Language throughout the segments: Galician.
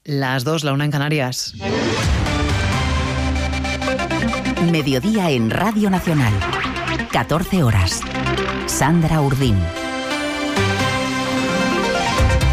Las 2, la 1 en Canarias. Mediodía en Radio Nacional. 14 horas. Sandra Urdín.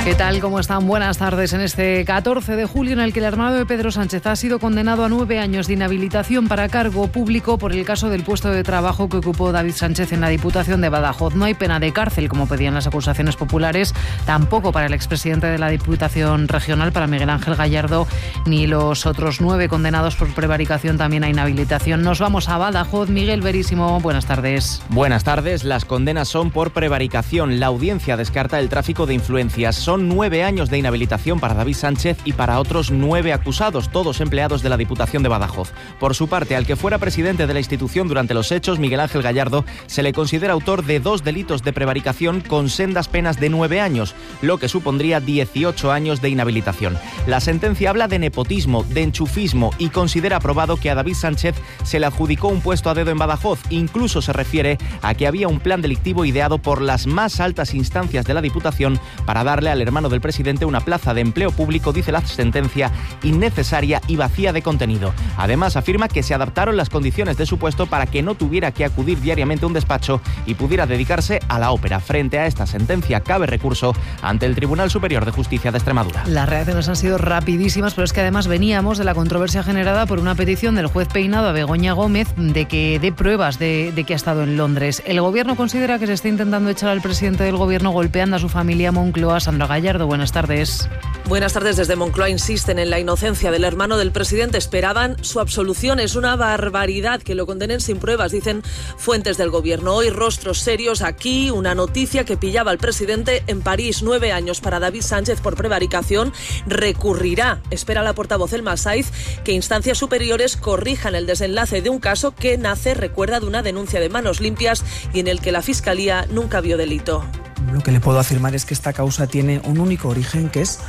¿Qué tal? ¿Cómo están? Buenas tardes. En este 14 de julio en el que el hermano de Pedro Sánchez ha sido condenado a 9 años de inhabilitación para cargo público por el caso del puesto de trabajo que ocupó David Sánchez en la Diputación de Badajoz. No hay pena de cárcel, como pedían las acusaciones populares, tampoco para el expresidente de la Diputación Regional, para Miguel Ángel Gallardo, ni los otros 9 condenados por prevaricación también a inhabilitación. Nos vamos a Badajoz. Miguel Verísimo, buenas tardes. Buenas tardes. Las condenas son por prevaricación. La audiencia descarta el tráfico de influencias. Son 9 años de inhabilitación para David Sánchez y para otros 9 acusados, todos empleados de la Diputación de Badajoz. Por su parte, al que fuera presidente de la institución durante los hechos, Miguel Ángel Gallardo, se le considera autor de 2 delitos de prevaricación con sendas penas de 9 años, lo que supondría 18 años de inhabilitación. La sentencia habla de nepotismo, de enchufismo y considera probado que a David Sánchez se le adjudicó un puesto a dedo en Badajoz. Incluso se refiere a que había un plan delictivo ideado por las más altas instancias de la Diputación para darle al hermano del presidente una plaza de empleo público, dice la sentencia, innecesaria y vacía de contenido. Además, afirma que se adaptaron las condiciones de su puesto para que no tuviera que acudir diariamente a un despacho y pudiera dedicarse a la ópera. Frente a esta sentencia, cabe recurso ante el Tribunal Superior de Justicia de Extremadura. Las reacciones han sido rapidísimas, pero es que además veníamos de la controversia generada por una petición del juez Peinado a Begoña Gómez de que dé pruebas de que ha estado en Londres. El Gobierno considera que se está intentando echar al presidente del Gobierno golpeando a su familia. Moncloa. Sandra Gallardo, buenas tardes. Buenas tardes. Desde Moncloa insisten en la inocencia del hermano del presidente. Esperaban su absolución. Es una barbaridad que lo condenen sin pruebas, dicen fuentes del Gobierno. Hoy rostros serios aquí. Una noticia que pillaba al presidente en París. 9 años para David Sánchez por prevaricación. Recurrirá, espera la portavoz Elma Saiz, que instancias superiores corrijan el desenlace de un caso que nace, recuerda, de una denuncia de manos limpias y en el que la Fiscalía nunca vio delito. Lo que le puedo afirmar es que esta causa tiene un único origen, que es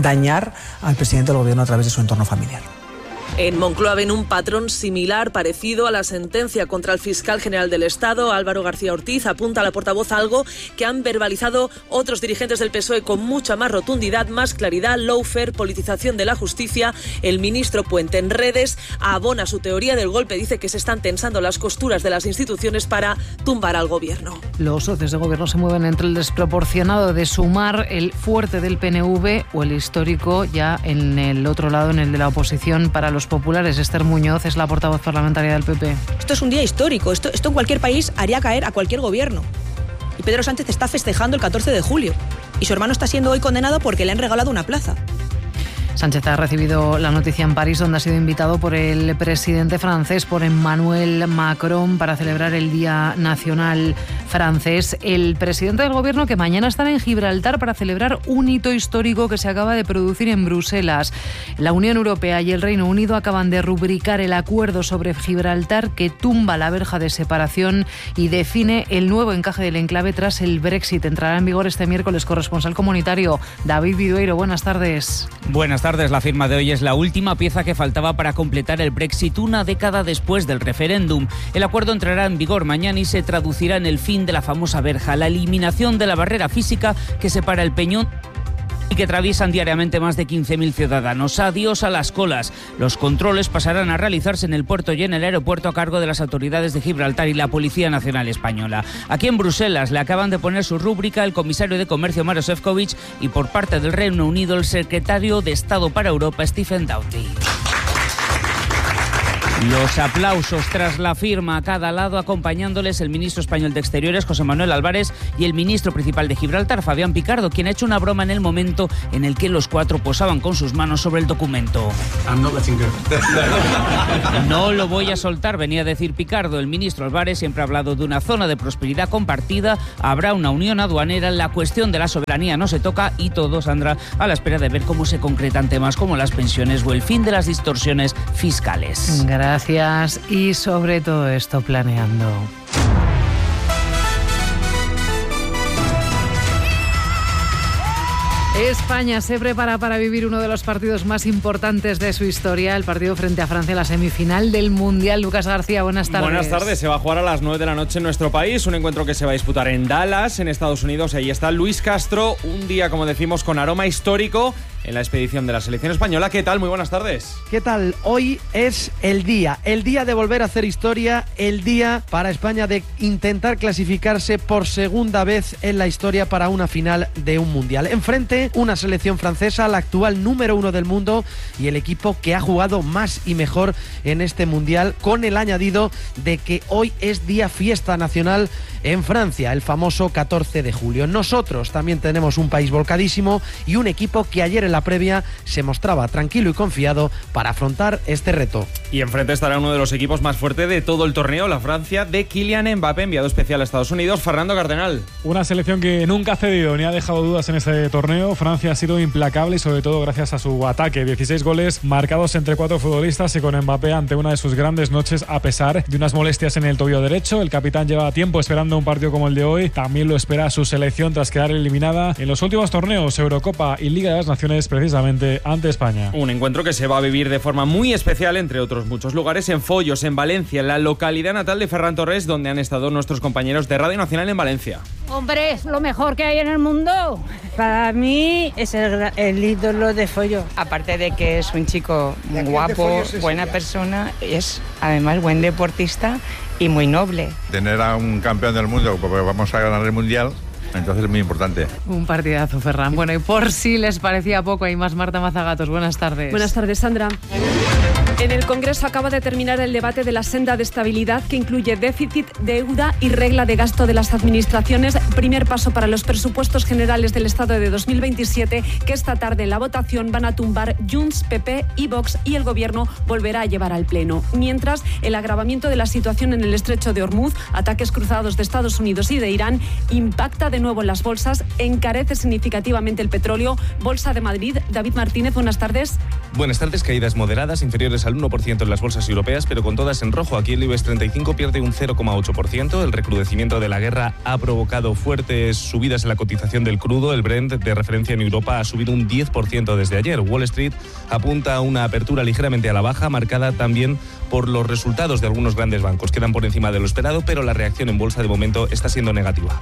dañar al presidente del Gobierno a través de su entorno familiar. En Moncloa ven un patrón similar, parecido a la sentencia contra el fiscal general del Estado, Álvaro García Ortiz. Apunta a la portavoz algo que han verbalizado otros dirigentes del PSOE con mucha más rotundidad, más claridad. Lawfare, politización de la justicia. El ministro Puente en redes abona su teoría del golpe. Dice que se están tensando las costuras de las instituciones para tumbar al Gobierno. Los socios de Gobierno se mueven entre el desproporcionado de Sumar, el fuerte del PNV o el histórico ya en el otro lado, en el de la oposición para los populares. Esther Muñoz es la portavoz parlamentaria del PP. Esto es un día histórico. Esto en cualquier país haría caer a cualquier gobierno. Y Pedro Sánchez está festejando el 14 de julio. Y su hermano está siendo hoy condenado porque le han regalado una plaza. Sánchez ha recibido la noticia en París, donde ha sido invitado por el presidente francés, por Emmanuel Macron, para celebrar el Día Nacional francés. El presidente del Gobierno, que mañana estará en Gibraltar para celebrar un hito histórico que se acaba de producir en Bruselas. La Unión Europea y el Reino Unido acaban de rubricar el acuerdo sobre Gibraltar que tumba la verja de separación y define el nuevo encaje del enclave tras el Brexit. Entrará en vigor este miércoles. Corresponsal comunitario David Vidueiro, buenas tardes. Buenas tardes. La firma de hoy es la última pieza que faltaba para completar el Brexit una década después del referéndum. El acuerdo entrará en vigor mañana y se traducirá en el fin de la famosa verja, la eliminación de la barrera física que separa el peñón y que atraviesan diariamente más de 15.000 ciudadanos. Adiós a las colas. Los controles pasarán a realizarse en el puerto y en el aeropuerto a cargo de las autoridades de Gibraltar y la Policía Nacional Española. Aquí en Bruselas le acaban de poner su rúbrica el comisario de Comercio Maroš Šefčovič y por parte del Reino Unido el secretario de Estado para Europa Stephen Doughty. Los aplausos tras la firma a cada lado, acompañándoles el ministro español de Exteriores, José Manuel Álvarez, y el ministro principal de Gibraltar, Fabián Picardo, quien ha hecho una broma en el momento en el que los cuatro posaban con sus manos sobre el documento. No lo voy a soltar, venía a decir Picardo. El ministro Álvarez siempre ha hablado de una zona de prosperidad compartida, habrá una unión aduanera, la cuestión de la soberanía no se toca y todo, Sandra, a la espera de ver cómo se concretan temas como las pensiones o el fin de las distorsiones fiscales. Gracias, y sobre todo esto planeando. España se prepara para vivir uno de los partidos más importantes de su historia, el partido frente a Francia, la semifinal del Mundial. Lucas García, buenas tardes. Buenas tardes, se va a jugar a las 9 de la noche en nuestro país, un encuentro que se va a disputar en Dallas, en Estados Unidos. Ahí está Luis Castro, un día, como decimos, con aroma histórico en la expedición de la selección española. ¿Qué tal? Muy buenas tardes. ¿Qué tal? Hoy es el día de volver a hacer historia, el día para España de intentar clasificarse por segunda vez en la historia para una final de un Mundial. Enfrente, una selección francesa, la actual número 1 del mundo y el equipo que ha jugado más y mejor en este Mundial, con el añadido de que hoy es día fiesta nacional en Francia, el famoso 14 de julio. Nosotros también tenemos un país volcadísimo y un equipo que ayer en la previa se mostraba tranquilo y confiado para afrontar este reto. Y enfrente estará uno de los equipos más fuertes de todo el torneo, la Francia de Kylian Mbappé, enviado especial a Estados Unidos. Fernando Cardenal. Una selección que nunca ha cedido ni ha dejado dudas en este torneo. Francia ha sido implacable y sobre todo gracias a su ataque. 16 goles marcados entre 4 futbolistas y con Mbappé ante una de sus grandes noches a pesar de unas molestias en el tobillo derecho. El capitán lleva tiempo esperando un partido como el de hoy. También lo espera su selección tras quedar eliminada en los últimos torneos, Eurocopa y Liga de las Naciones, precisamente ante España. Un encuentro que se va a vivir de forma muy especial, entre otros muchos lugares, en Follos, en Valencia, en la localidad natal de Ferran Torres, donde han estado nuestros compañeros de Radio Nacional en Valencia. Hombre, es lo mejor que hay en el mundo. Para mí es el ídolo de Follo. Aparte de que es un chico muy guapo, buena persona, es además buen deportista y muy noble. Tener a un campeón del mundo, porque vamos a ganar el Mundial, entonces es muy importante. Un partidazo, Ferran. Bueno, y por si les parecía poco, hay más. Marta Mazagatos, buenas tardes. Buenas tardes, Sandra. En el Congreso acaba de terminar el debate de la senda de estabilidad, que incluye déficit, deuda y regla de gasto de las administraciones. Primer paso para los presupuestos generales del Estado de 2027, que esta tarde en la votación van a tumbar Junts, PP y Vox, y el Gobierno volverá a llevar al Pleno. Mientras, el agravamiento de la situación en el estrecho de Hormuz, ataques cruzados de Estados Unidos y de Irán, impacta de nuevo en las bolsas, encarece significativamente el petróleo. Bolsa de Madrid, David Martínez, buenas tardes. Buenas tardes, caídas moderadas, inferiores al 1% en las bolsas europeas, pero con todas en rojo. Aquí el IBEX 35 pierde un 0,8%. El recrudecimiento de la guerra ha provocado fuertes subidas en la cotización del crudo. El Brent, de referencia en Europa, ha subido un 10% desde ayer. Wall Street apunta a una apertura ligeramente a la baja, marcada también por los resultados de algunos grandes bancos. Quedan por encima de lo esperado, pero la reacción en bolsa de momento está siendo negativa.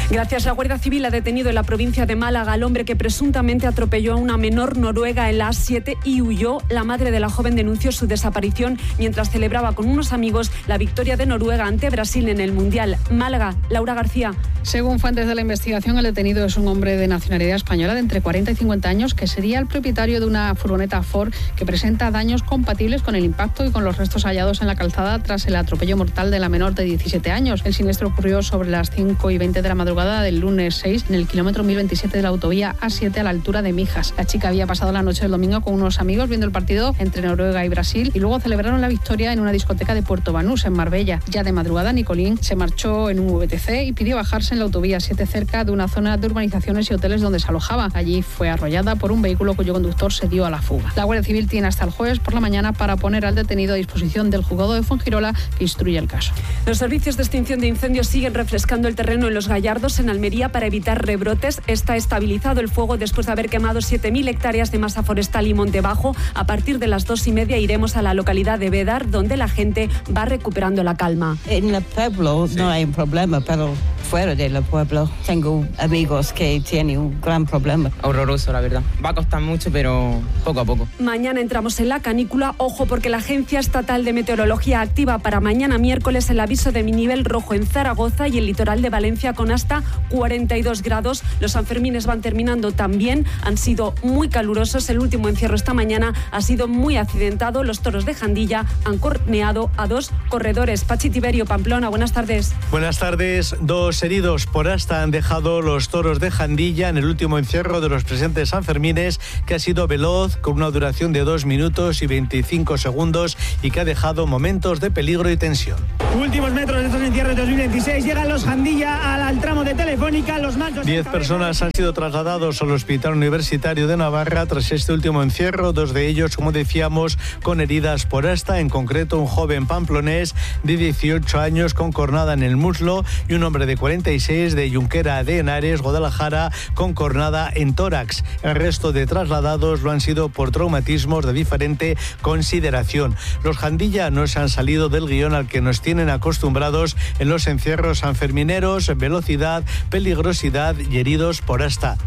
Gracias. La Guardia Civil ha detenido en la provincia de Málaga al hombre que presuntamente atropelló a una menor noruega en la A7 y huyó. La madre de la joven denunció su desaparición mientras celebraba con unos amigos la victoria de Noruega ante Brasil en el Mundial. Málaga, Laura García. Según fuentes de la investigación, el detenido es un hombre de nacionalidad española de entre 40 y 50 años que sería el propietario de una furgoneta Ford que presenta daños compatibles con el impacto y con los restos hallados en la calzada tras el atropello mortal de la menor de 17 años. El siniestro ocurrió sobre las 5:20 de la madrugada del lunes 6 en el kilómetro 1027 de la autovía A7 a la altura de Mijas. La chica había pasado la noche del domingo con unos amigos viendo el partido entre Noruega y Brasil y luego celebraron la victoria en una discoteca de Puerto Banús, en Marbella. Ya de madrugada, Nicolín se marchó en un VTC y pidió bajarse en la autovía 7 cerca de una zona de urbanizaciones y hoteles donde se alojaba. Allí fue arrollada por un vehículo cuyo conductor se dio a la fuga. La Guardia Civil tiene hasta el jueves por la mañana para poner al detenido a disposición del juzgado de Fuengirola, que instruye el caso. Los servicios de extinción de incendios siguen refrescando el terreno en Los Gallardos, en Almería, para evitar rebrotes. Está estabilizado el fuego después de haber quemado 7.000 hectáreas de masa forestal y monte bajo. A partir de las 2:30 iremos a la localidad de Bédar, donde la gente va recuperando la calma. En el pueblo no hay un problema, pero fuera del pueblo tengo amigos que tienen un gran problema. Horroroso, la verdad. Va a costar mucho, pero poco a poco. Mañana entramos en la canícula. Ojo, porque la Agencia Estatal de Meteorología activa para mañana miércoles el aviso de nivel rojo en Zaragoza y el litoral de Valencia con hasta 42 grados. Los Sanfermines van terminando también. Han sido muy calurosos. El último encierro esta mañana ha sido muy accidentado. Los toros de Jandilla han corneado a 2 corredores. Pachi Tiberio, Pamplona, buenas tardes. Buenas tardes. 2 heridos por asta han dejado los toros de Jandilla en el último encierro de los presentes Sanfermines, que ha sido veloz, con una duración de 2 minutos y 25 segundos y que ha dejado momentos de peligro y tensión. Últimos metros de estos encierros 2026. Llegan los Jandilla al tramo de Telefónica. Los machos... 10 personas han sido trasladados al Hospital Universitario de Navarra tras este último encierro. 2 de ellos, como decíamos, con heridas por asta. En concreto, un joven pamplonés de 18 años con cornada en el muslo y un hombre de 46 de Junquera de Henares, Guadalajara, con cornada en tórax. El resto de trasladados lo han sido por traumatismos de diferente consideración. Los Jandilla no se han salido del guión al que nos tienen acostumbrados en los encierros sanfermineros: velocidad, peligrosidad y heridos por asta.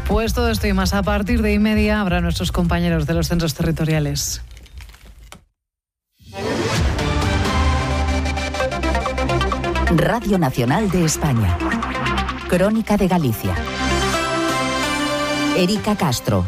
Pues todo esto y más a partir de 1:30 habrá nuestros compañeros de los centros territoriales. Radio Nacional de España. Crónica de Galicia. Erika Castro.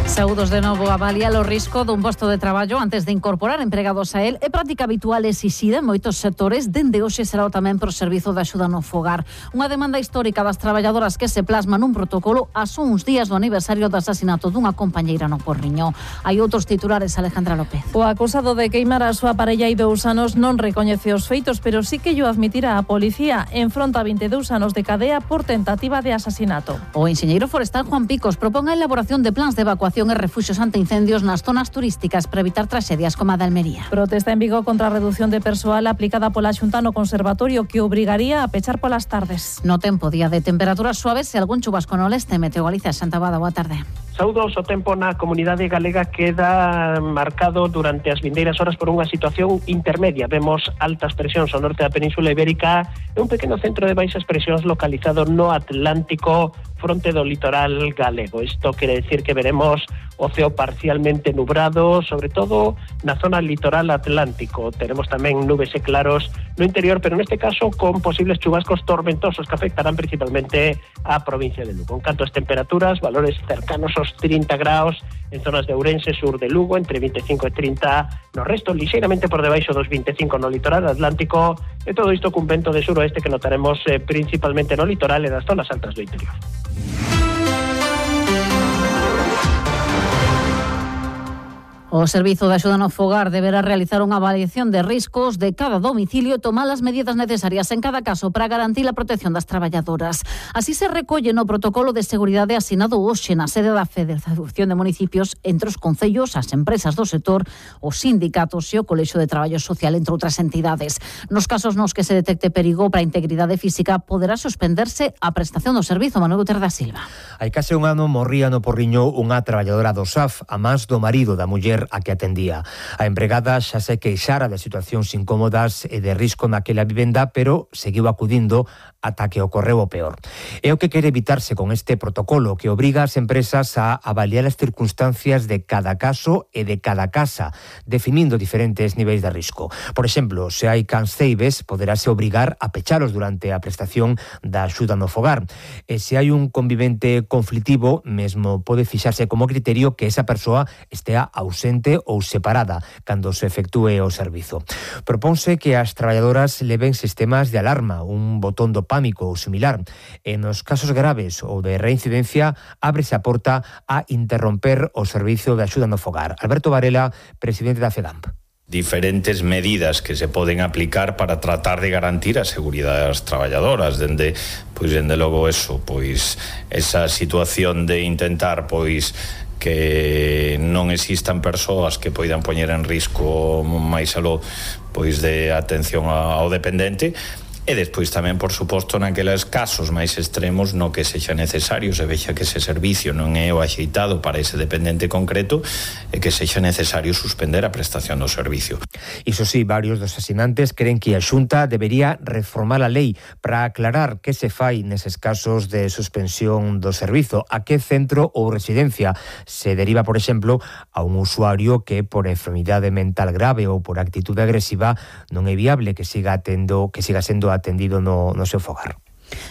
Saúdos de novo. Avaliar o risco dun posto de traballo antes de incorporar empregados a él é práctica habitual exixida en moitos sectores. Dende hoxe será tamén pro servizo de axuda no fogar. Unha demanda histórica das traballadoras que se plasma nun protocolo a só uns días do aniversario do asasinato dunha compañeira no Porriño. Hai outros titulares, Alejandra López. O acusado de queimar a súa parella hai 2 anos non recoñece os feitos, pero sí que llo admitirá a policía. Enfronta 22 anos de cadea por tentativa de asasinato. O enxeñeiro forestal Juan Picos propón a elaboración de plans de evacuación e refuxios ante incendios nas zonas turísticas para evitar tragedias como a de Almería. Protesta en Vigo contra a reducción de persoal aplicada pola Xunta no Conservatorio, que obrigaría a pechar polas tardes. No tempo, día de temperaturas suaves e algún chubasco no leste. Meteo Galicia, Santa Bada, boa tarde. Saúdos, o tempo na comunidade galega queda marcado durante as vindeiras horas por unha situación intermedia. Vemos altas presións ao norte da Península Ibérica e un pequeno centro de baixas presións localizado no Atlántico fronte do litoral galego. Isto quere decir que veremos o ceo parcialmente nubrado, sobre todo na zona litoral atlántico. Teremos tamén nubes e claros no interior, pero neste caso con posibles chubascos tormentosos que afectarán principalmente á provincia de Lugo. En canto ás temperaturas, valores cercanos aos 30 graus en zonas de Ourense, sur de Lugo, entre 25 e 30 no resto, lixeiramente por debaixo dos 25 no litoral atlántico, e todo isto cun vento de suroeste que notaremos principalmente no litoral e nas zonas altas do interior. O Servizo de Axuda no Fogar deberá realizar unha avaliación de riscos de cada domicilio e tomar as medidas necesarias en cada caso para garantir a protección das traballadoras. Así se recolle no protocolo de seguridade asinado hoxe na sede da Federación de Municipios entre os concellos, as empresas do sector, os sindicatos e o Colexio de Traballo Social, entre outras entidades. Nos casos nos que se detecte perigo para a integridade física, poderá suspenderse a prestación do servizo. Manuel Guterres da Silva. Hai case un ano morría no Porriño unha traballadora do SAF, a más do marido da muller a que atendía. A empregada xa se queixara de situacións incómodas e de risco naquela vivenda, pero seguiu acudindo ata que ocorreu o peor. É o que quere evitarse con este protocolo, que obriga as empresas a avaliar as circunstancias de cada caso e de cada casa, definindo diferentes niveis de risco. Por exemplo, se hai canceibes, poderase obrigar a pechalos durante a prestación da axuda no fogar. E se hai un convivente conflitivo, mesmo pode fixarse como criterio que esa persoa estea ausente ou separada cando se efectúe o servizo. Propónse que as traballadoras leven sistemas de alarma, un botón do pánico ou similar. En os casos graves ou de reincidencia, ábrese a porta a interromper o servizo de axuda no fogar. Alberto Varela, presidente da FEDAMP. Diferentes medidas que se poden aplicar para tratar de garantir a seguridade das traballadoras, dende logo eso, esa situación de intentar que non existan persoas que poidan poñer en risco máis aló de atención ao dependente. E despois tamén, por suposto, naqueles casos máis extremos no que sexa necesario, se vexa que ese servicio non é o axeitado para ese dependente concreto e que sexa necesario suspender a prestación do servicio. Iso sí, varios dos asinantes creen que a Xunta debería reformar a lei para aclarar que se fai neses casos de suspensión do servizo, a que centro ou residencia se deriva, por exemplo, a un usuario que por enfermidade mental grave ou por actitude agresiva non é viable que siga sendo atendido no seu fogar.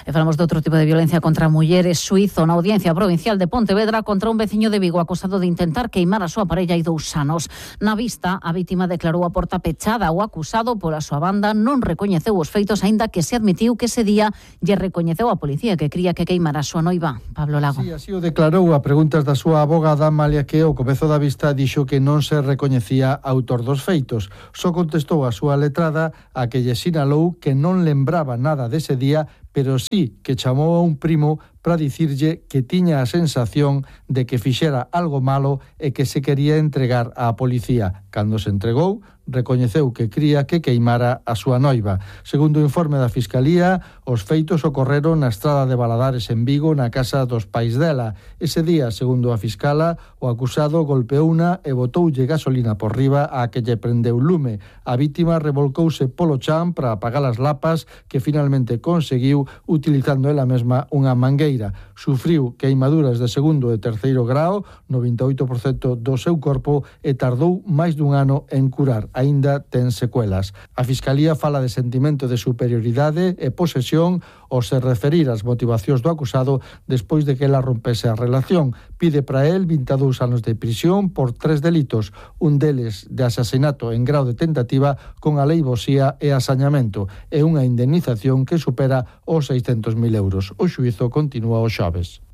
E falamos de outro tipo de violencia contra mulleres. Suízo na Audiencia Provincial de Pontevedra contra un veciño de Vigo acusado de intentar queimar a súa parella hai 2 anos. Na vista, a vítima declarou a porta pechada. O acusado, pola súa banda, non recoñeceu os feitos, aínda que se admitiu que ese día lle recoñeceu a policía que cría que queimara a súa noiva. Pablo Lago. Sí, así o declarou a preguntas da súa abogada, malia que ao comezo da vista dixo que non se recoñecía autor dos feitos. Só contestou a súa letrada a que lle sinalou que non lembraba nada dese día, pero sí que chamou a un primo para dicirlle que tiña a sensación de que fixera algo malo e que se quería entregar á policía. Cando se entregou, recoñeceu que cría que queimara a súa noiva. Segundo o informe da Fiscalía, os feitos ocorreron na estrada de Valadares en Vigo, na casa dos pais dela. Ese día, segundo a fiscala, o acusado golpeouna e botoulle gasolina por riba a que lle prendeu lume. A vítima revolcouse polo chan para apagar as lapas que finalmente conseguiu utilizando ela mesma unha mangueira. Sufriu queimaduras de segundo e terceiro grao, 98% do seu corpo, e tardou máis dun ano en curar. Aínda ten secuelas. A Fiscalía fala de sentimento de superioridade e posesión ao se referir ás motivacións do acusado despois de que ela rompese a relación. Pide para el 22 anos de prisión por 3 delitos, un deles de asasinato en grao de tentativa con aleivosía e asañamento, e unha indemnización que supera os 600.000 euros. O xuízo continúa o xoves.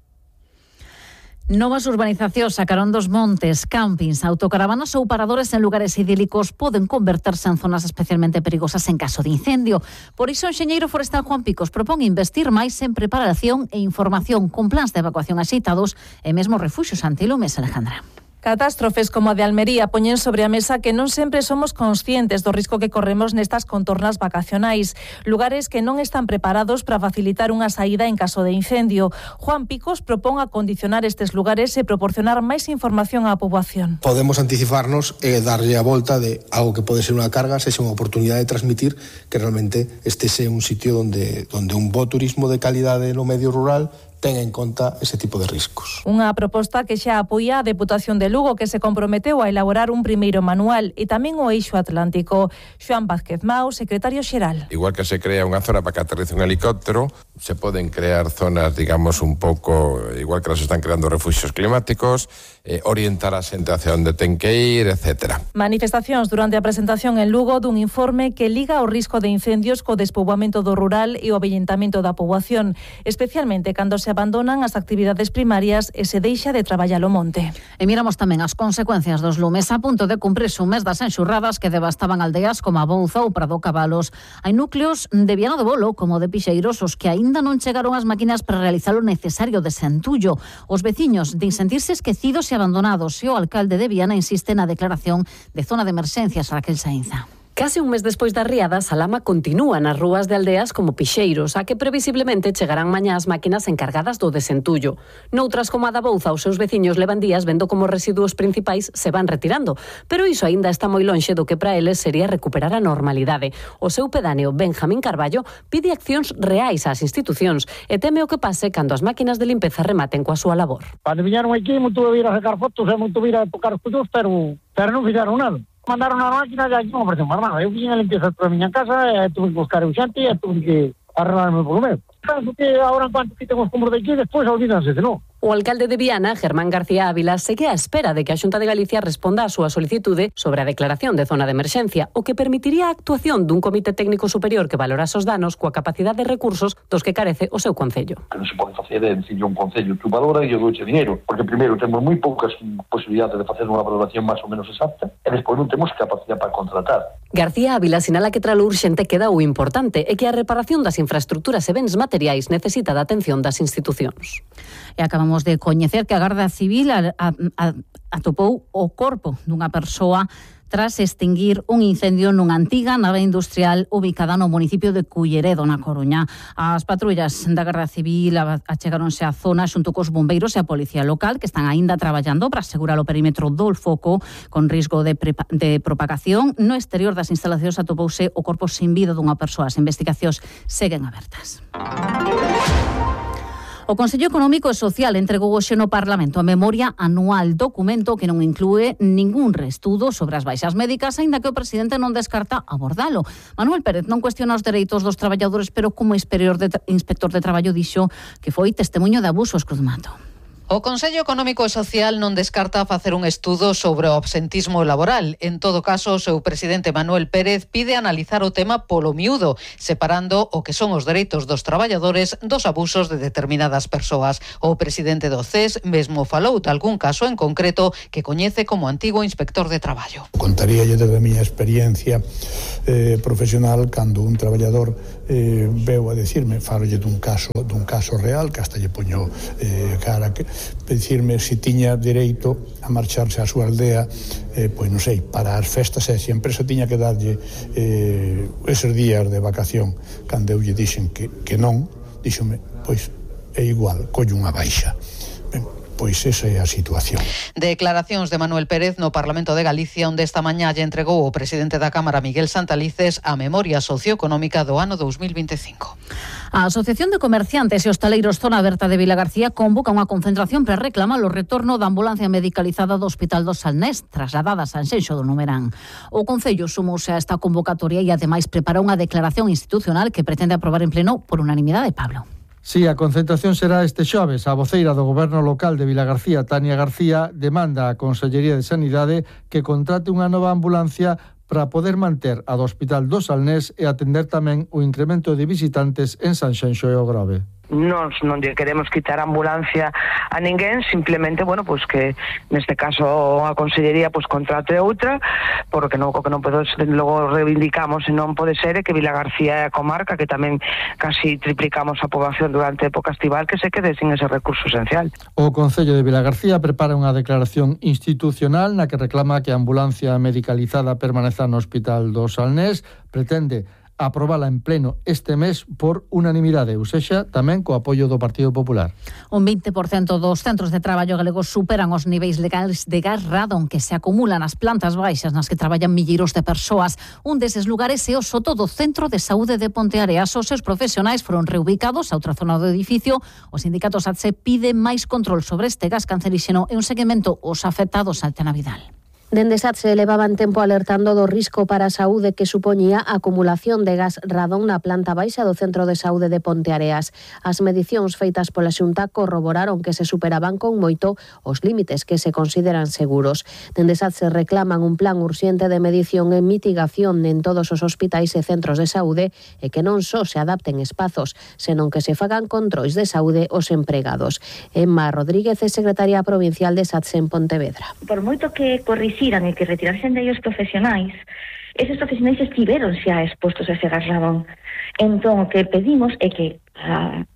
Novas urbanizacións a carón dos montes, campings, autocaravanas ou paradores en lugares idílicos poden converterse en zonas especialmente perigosas en caso de incendio. Por iso o enxeñeiro forestal Juan Picos propón investir máis en preparación e información con plans de evacuación axeitados e mesmo refuxios antilumes, Alejandra. Catástrofes como a de Almería poñen sobre a mesa que non sempre somos conscientes do risco que corremos nestas contornas vacacionais, lugares que non están preparados para facilitar unha saída en caso de incendio. Juan Picos propón acondicionar estes lugares e proporcionar máis información á poboación. Podemos anticiparnos e darlle a volta de algo que pode ser unha carga, sexa unha oportunidade de transmitir que realmente este sea un sitio donde un bo turismo de calidade no medio rural ten en conta ese tipo de riscos. Unha proposta que xa apoia a Deputación de Lugo, que se comprometeu a elaborar un primeiro manual, e tamén o Eixo Atlántico. Xoan Vázquez Mau, secretario xeral. Igual que se crea unha zona para que aterrice un helicóptero, se poden crear zonas, digamos, un pouco, igual que las están creando refugios climáticos, orientar a xente hacia onde ten que ir, etc. Manifestacións durante a presentación en Lugo dun informe que liga o risco de incendios co despoboamento do rural e o avellentamento da poboación, especialmente cando se abandonan as actividades primarias e se deixa de traballar o monte. E miramos tamén as consecuencias dos lumes. A punto de cumprirse un mes das enxurradas que devastaban aldeas como a Bouza ou Prado Cabalos. Hai núcleos de Viana do Bolo como de Pixeiros os que aínda non chegaron as máquinas para realizar o necesario desentullo. Os veciños din sentirse esquecidos e abandonados, e o alcalde de Viana insiste na declaración de zona de emerxencias, Raquel Sainza. Case un mes despois das riadas, a lama continúa nas rúas de aldeas como Pixeiros, a que previsiblemente chegarán mañá as máquinas encargadas do desentullo. Noutras como a da Bouza, os seus veciños levan días vendo como os residuos principais se van retirando, pero iso aínda está moi lonxe do que para eles sería recuperar a normalidade. O seu pedáneo, Benjamín Carballo, pide accións reais ás institucións e teme o que pase cando as máquinas de limpeza rematen coa súa labor. Cando viñeron aquí, moito vir a sacar fotos e moito vir a tocar os cullos, pero non fixeron nada. Mandaron a máquina e aquí non apareceu máis nada. Eu vim a limpieza toda a miña casa e tuve que buscar o xente e tuve que arreglarme polo meu. Penso que agora en cuanto quiten os cumbros de aquí, despois olvídanse de non. O alcalde de Viana, Germán García Ávila, segue á espera de que a Xunta de Galicia responda a súa solicitude sobre a declaración de zona de emerxencia, o que permitiría a actuación dun comité técnico superior que valorase os danos coa capacidade de recursos dos que carece o seu concello. Que non se pode facer é dicirle un concello tu valora e eu douche dinheiro, porque primeiro temos moi poucas posibilidades de facer unha valoración máis ou menos exacta e despois non temos capacidade para contratar. García Ávila sinala que tra lo urxente queda o importante e que a reparación das infraestructuras e bens materiais necesita da atención das institucións. E acabamos de coñecer que a Garda Civil atopou o corpo dunha persoa tras extinguir un incendio nunha antiga nave industrial ubicada no municipio de Culleredo, na Coruña. As patrullas da Garda Civil achegáronse á zona xunto cos bombeiros e a policía local, que están aínda traballando para asegurar o perímetro do foco con risco de propagación. No exterior das instalacións atopouse o corpo sin vida dunha persoa. As investigacións seguen abertas. O Consello Económico e Social entregou hoxe no Parlamento a memoria anual, documento que non inclúe ningún reestudo sobre as baixas médicas, aínda que o presidente non descarta abordalo. Manuel Pérez non cuestiona os dereitos dos traballadores, pero como inspector de traballo dixo que foi testemunho de abusos. Cruz Mato. O Consello Económico e Social non descarta facer un estudo sobre o absentismo laboral. En todo caso, o seu presidente Manuel Pérez pide analizar o tema polo miúdo, separando o que son os dereitos dos traballadores dos abusos de determinadas persoas. O presidente do CES mesmo falou de algún caso en concreto que coñece como antigo inspector de traballo. Contaríalle desde a miña experiencia profesional cando un traballador veu a decirme, falolle dun caso real, que hasta lle poño cara que decirme se tiña dereito a marcharse á súa aldea, pois non sei, para as festas, e se a empresa tiña que darlle eses días de vacación. Cando eu lle dixen que non, díxome, pois é igual, colle unha baixa. Ben, pois esa é a situación. Declaracións de Manuel Pérez no Parlamento de Galicia, onde esta mañá lle entregou o presidente da Cámara, Miguel Santalices, a memoria socioeconómica do ano 2025. A Asociación de Comerciantes e Hostaleiros Zona Aberta de Vilagarcía convoca unha concentración para reclamar o retorno da ambulancia medicalizada do Hospital do Salnés, trasladada a Sanxenxo do Numerán. O Concello sumouse a esta convocatoria e ademais prepara unha declaración institucional que pretende aprobar en pleno por unanimidade. Pablo. Sí, a concentración será este xoves. A voceira do Goberno local de Vilagarcía, Tania García, demanda á Consellería de Sanidade que contrate unha nova ambulancia para poder manter a do Hospital do Salnés e atender tamén o incremento de visitantes en Sanxenxo e o Grove. Non lle queremos quitar a ambulancia a ninguén, simplemente, pues que neste caso a Consellería contrate outra, porque o que non podo, logo reivindicamos, e non pode ser que Vilagarcía é a comarca que tamén casi triplicamos a poboación durante a época estival, que se quede sin ese recurso esencial. O Concello de Vilagarcía prepara unha declaración institucional na que reclama que a ambulancia medicalizada permaneza no Hospital do Salnés, pretende aprobala en pleno este mes por unanimidade, ou sexa, tamén co apoio do Partido Popular. Un 20% dos centros de traballo galegos superan os niveis legais de gas radon que se acumulan nas plantas baixas nas que traballan milleiros de persoas. Un deses lugares é o soto do Centro de Saúde de Ponteareas. Os seus profesionais foron reubicados a outra zona do edificio. Os sindicatos ATSE piden máis control sobre este gas canceríxeno e un seguimento aos afectados. Altena Vidal. Dende SATSE levaban tempo alertando do risco para a saúde que supoñía a acumulación de gas radón na planta baixa do Centro de Saúde de Ponteareas. As medicións feitas pola Xunta corroboraron que se superaban con moito os límites que se consideran seguros. Dende SATSE reclaman un plan urxente de medición e mitigación en todos os hospitais e centros de saúde e que non só se adapten espazos, senón que se fagan controis de saúde aos empregados. Emma Rodríguez é secretaria provincial de SATSE en Pontevedra. Por moito que e que retirasen de ellos profesionais, esos profesionais estiveron xa expostos a ese gas radón. Entón, o que pedimos é que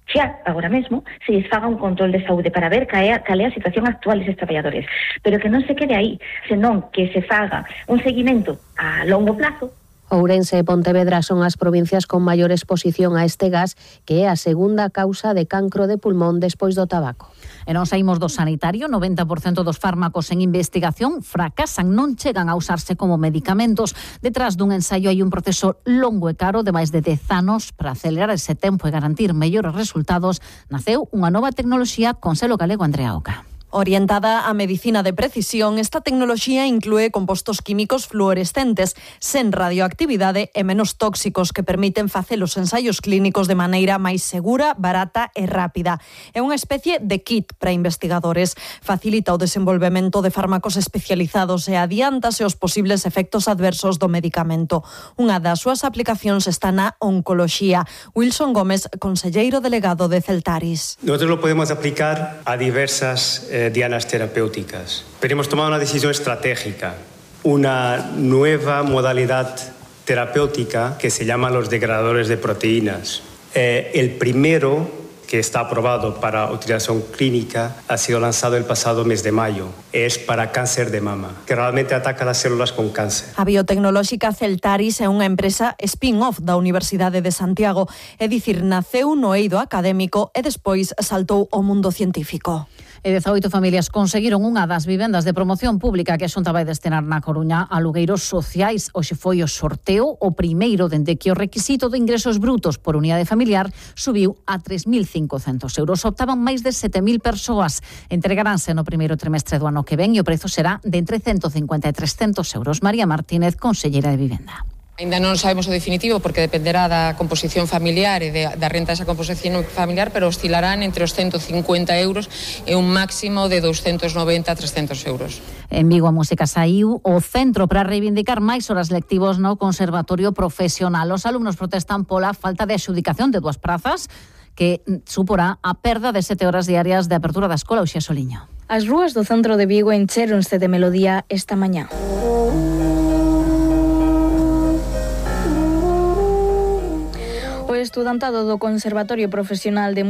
xa, agora mesmo, se lles faga un control de saúde para ver cal é a situación actual deses traballadores, pero que non se quede aí, senón que se faga un seguimento a longo plazo. Ourense e Pontevedra son as provincias con maior exposición a este gas, que é a segunda causa de cancro de pulmón despois do tabaco. E non saímos do sanitario, 90% dos fármacos en investigación fracasan, non chegan a usarse como medicamentos. Detrás dun ensaio hai un proceso longo e caro de máis de 10 anos. Para acelerar ese tempo e garantir mellores resultados, naceu unha nova tecnoloxía con selo galego. Andrea Oca. Orientada á medicina de precisión, esta tecnoloxía inclúe compostos químicos fluorescentes, sen radioactividade e menos tóxicos que permiten facer os ensaios clínicos de maneira máis segura, barata e rápida. É unha especie de kit para investigadores. Facilita o desenvolvemento de fármacos especializados e adiántase os posibles efectos adversos do medicamento. Unha das súas aplicacións está na oncoloxía. Wilson Gómez, conselleiro delegado de Celtaris. Nosotros lo podemos aplicar a diversas dianas terapéuticas. Pero hemos tomado una decisión estratégica, una nueva modalidad terapéutica que se llama los degradadores de proteínas. El primero que está aprobado para utilización clínica ha sido lanzado el pasado mes de mayo. Es para cáncer de mama, que realmente ataca las células con cáncer. A biotecnolóxica Celtaris é unha empresa spin-off da Universidade de Santiago, é dicir, naceu no eido académico e despois saltou ao mundo científico. E 18 familias conseguiron unha das vivendas de promoción pública que a Xunta vai destinar na Coruña a alugueiros sociais. Hoxe foi o sorteo, o primeiro dende que o requisito de ingresos brutos por unidade familiar subiu a 3.050 1.500 euros. Optaban máis de 7.000 persoas. Entregaránse no primeiro trimestre do ano que ven e o prezo será de entre 150 e 300 euros. María Martínez, conselleira de Vivenda. Ainda non sabemos o definitivo porque dependerá da composición familiar e da renta desa composición familiar, pero oscilarán entre os 150 euros e un máximo de 290 a 300 euros. En Vigo a música saiu o centro para reivindicar máis horas lectivos no Conservatorio Profesional. Os alumnos protestan pola falta de adxudicación de 2 prazas que suporá a perda de 7 horas diarias de apertura da escola. Uxía Soliño. As rúas do centro de Vigo enchéronse de melodía esta mañá. O estudantado do Conservatorio Profesional de